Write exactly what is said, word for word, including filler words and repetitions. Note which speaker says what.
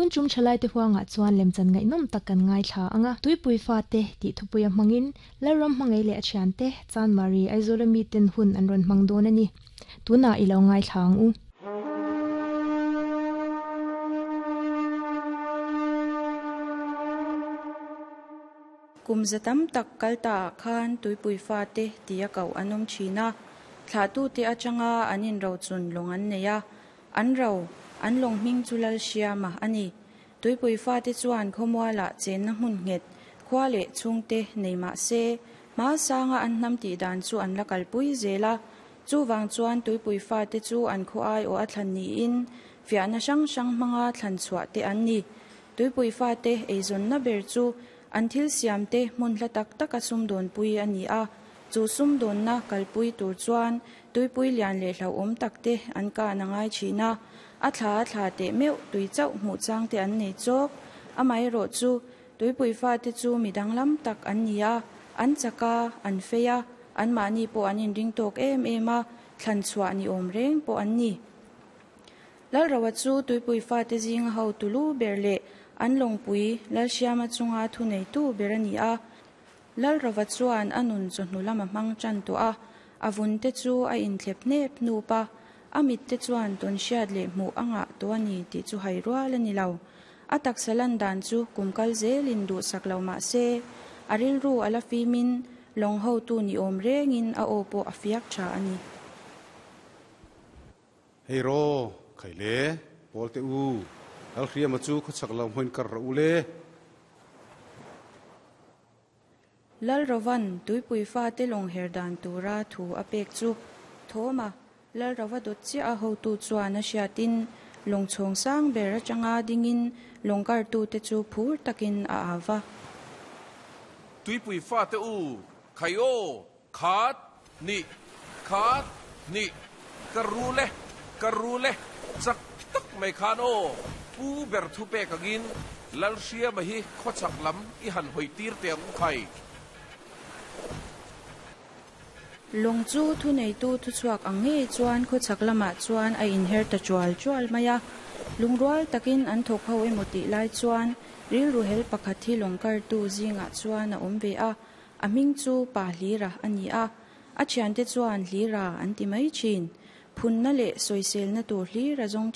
Speaker 1: Tun tum thalai te huanga chuan lemchan ngaihnawm tak kan ngaithla anga tuipui fa te tih thupuia hmangin Lalram hmangaih leh a thian te Chanmari Aizawl ami ten hun an rawn hmang dawn a ni. Tunah i lo ngaithla ang u.
Speaker 2: Kum zatam tak kalta khan tuipui fa te tia kau anom thina thla tu te atanga anin ro chun long an neia an ro an long hming chulal siama ani tuipui fa te chuan khomwala chen na hmun nget khwa le chungte neima se ma sanga an nam ti dan chu an lakal pui zela chu wang chuan tuipui fa te chu an kho ai o athlan ni in fiana sang sang manga thlan chua te an ni tuipui fa te eizon na ber chu an thil siam te hmun hla tak tak a sum dawn pui ani a chu sum dawn na kalpui tur chuan tuipui lian le hlo awm tak te an ka na ngai thina a thla thla te meu tui chau hmu chang te an nei chawk amai ro chu tuipui fa te chu midang lam tak an ni a an chaka an feia an mani po an in ring tok em em a thlan chua ni awm reng po an ni Lalrawa chu tuipui fa te zing ho tulu berle an longpui lalsiama chunga thu nei tu berani a Lalrawa chuan anun chu hnulama hmang chan tu a avun te chu a inthlep nep nupa amit te chuan ton hriat leh hmuh anga to ani ti chu hai rual ani lo a taksalan dan chu kumkal zelin du saklo ma se aril ru ala fimin long ho tu ni om rengin a opo afiak tha ani
Speaker 3: Hei ro khaile polte u al khriama chu khachak lam hoin kar ra ule
Speaker 2: Lalrawan tuipui fa te long herdan tura thu apek chu thoma Lalrawa dot chi a ho tu chuan a hriatin long chhong sang ber atanga dingin longkar tu te chu phur takin a awa
Speaker 4: tuipui fa te u khayo khat ni khat ni karule karule chak tak mai khan o pu ber thu pe kangin lalhria ma hi khochak lam i han hoi tir te ang khai
Speaker 2: Long chu thu nei tu thu chuak ang nge chuan kho chak lama chuan a inher ta chual chual maya lungrual takin an thok ho emoti lai chuan ril ru hel pakhat hi longkar tu zinga chuan a awm ve a a hming chu pa hlira ani a a thian te chuan hlira an ti mai thin phunna leh sawisel na tur hlira zawng